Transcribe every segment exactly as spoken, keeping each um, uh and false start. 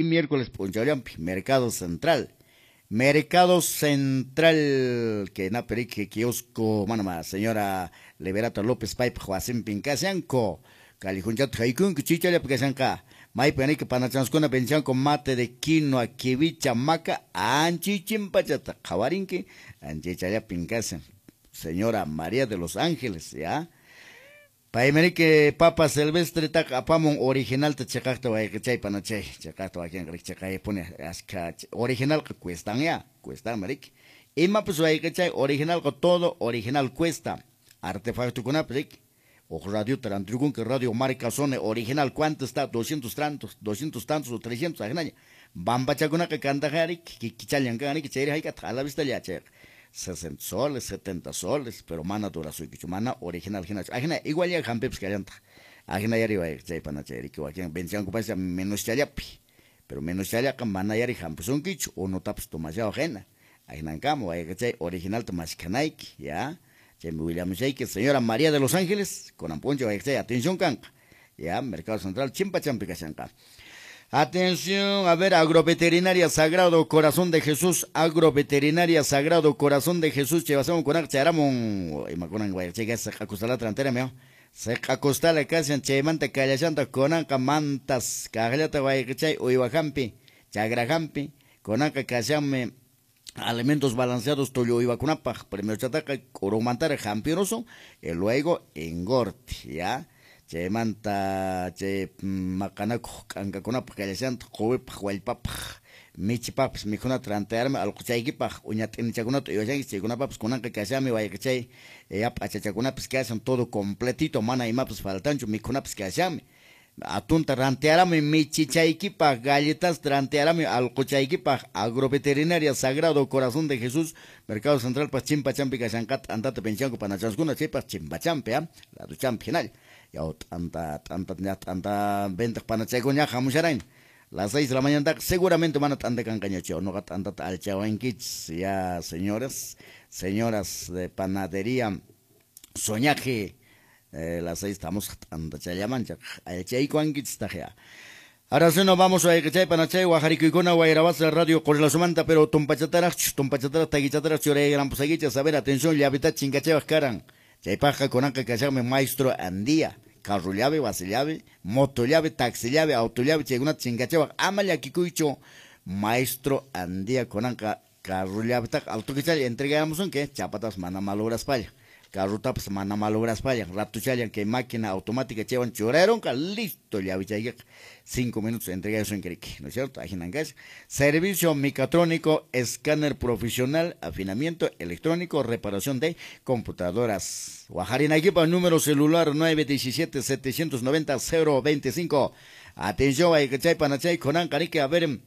Miércoles p'unchawllampi Mercado Central. Mercado Central que naperiki kiosco manama señora Liberata López paypaq wasinpin kashanku. Callejonchata haykunki chichallapi kashanqa. Maypi aniki panachanskuna venchanku mate de quinoa, kiwicha, maca, anchichimpachata qhawarinki, anchichallapin kashan. Señora María de los Ángeles, ya. Paymaniki papa silvestre taq apamun originalta chiqaqta wayqichay panachay, chiqaqta wakinqa chiqaypuni askha originalqa cuestan ya, cuestan mariki. Imapas wayqichay originalqa todo original cuesta. Artefactokunapas riki. Huk radiota rantikunki radio marca Sony original ¿cuánto está? doscientos tantos, doscientos tantos o trescientos ajinaña. Bambachakunaqa kantaqa riki, kikichallan kan riki, chayri hayk'ataq a la vista lla chayqa. sesenta soles, setenta soles, pero mana durasuykichu, mana original hinachu. Ajina igual ya hampipas kallantaq. Ajina yari chay panachay riki wakin venchankupas menos challapi, pero menos challaqa mana yari hampisunkichu, unutapas tomashawaq hina. Ajinankama wayqichay originalta maskhanayki, ya. Chaymi willamushayki señora María de los Ángeles, kunan p'unchaw wayqichay atención kanqa. Ya, Mercado Central chimpachampi kashanqa. Atención, a ver, Agroveterinaria Sagrado Corazón de Jesús, Agroveterinaria Sagrado Corazón de Jesús, chevasamos con charamon, imakunan guayachega, seq'acostala trantera meo, seq'acostala kashan chaymanta kallashanta kunanqa mantas, kaqllata guayachay uywajampi, chagrajampi, kunanqa kashanmi alimentos balanceados tullu uywakunapaq, primero chataqa k'urumantara jampirusun, y luego engorte, ya. Chaymanta chay maqanakuq k'ankakunapaq kallashanta quwipaq wallpapaq michipaqpas mikhunata rantiarmi allquchaykipaq uña t'inichakunata uywashanki chaykunapapas kunanqa kashanmi wayqichay ya p'achachakunapas kashan todo completito mana imapas faltanchu mikhunapas kashanmi atunta rantiarami michichaykipaq galletasta rantiarami allquchaykipaq Agroveterinaria Sagrado Corazón de Jesús Mercado Central pas chimpachampi kashanqa t'antata pinchanku panachaskuna chaypaq chimpachampi ah laduchampi hinalla. Ya t'anta t'anta ña t'anta ventaq panachaykuña hamusharayn las seis de la mañana seguramente mana t'anta kanqañachu noqa t'antata alchawankichis ya señores señoras de panadería Soñaje eh, las seis estamos t'anta challamanchaq alchaykuwankichis taq ya. Ahora sí nos vamos a wayqichay panachay wajarikuykuna wayrawasa radio Qurilasumanta pero tumpachataraqchu tumpachataraq takichataraq churayrampusakichis a ver atención llavita chinkachawaq karan. Chaypaqqa kunanqa kashanmi maestro Andía, carro llave, base llave, moto llave, taxi llave, auto llave, chaykunata chinkachawaq ama llakikuychu maestro Andía kunanqa carro llavetaqa altukichalla entregamusunki chapatas mana malograspalla, carrotapas mana malograspalla, ratuchallan kay máquina automática chaywan churayronqa listo llavechaykiqa cinco minutos entregamusunki riki, ¿no es cierto? Ajinan kashan. Servicio mecatrónico, escáner profesional, afinamiento electrónico, reparación de computadoras. Wajarinaykipaq número celular nueve diecisiete, setecientos noventa, cero veinticinco. Atención, wayqichay panachay kunanqa riki, a ver,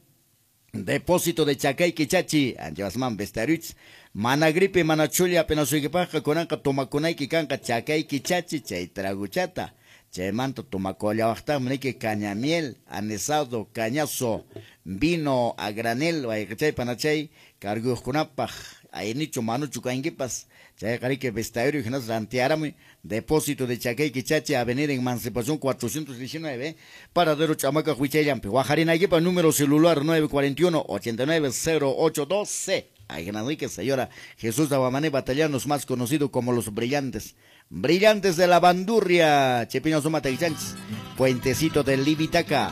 depósito de Chacay Quichachi, anchasman bestaruch, mana gripe, mana chulla, apenas suykipaqqa kunanqa tomakunayki kanqa Chacay Quichachi, chay traguchata. Chaymanta tomakullawaqtaqmi niki cañamiel, anisado, cañazo, vino a granel, wayqichay panachay, carguyuqkunapaq, aynichu manuchu kankipas, chayqa riki bestaruy hinas rantiarami, depósito de Chacay Quichachi, Avenida Emancipación cuatrocientos diecinueve, Paradero Chamaca Huichayllampi. Wajarinaykipaq número celular nueve cuarenta y uno, ochenta y nueve, cero ocho doce. Ay, señora Jesús Aguamané Batallanos, más conocido como los Brillantes. Brillantes de la Bandurria, Chepiño Suma Taichanchis, Puentecito de Livitaca.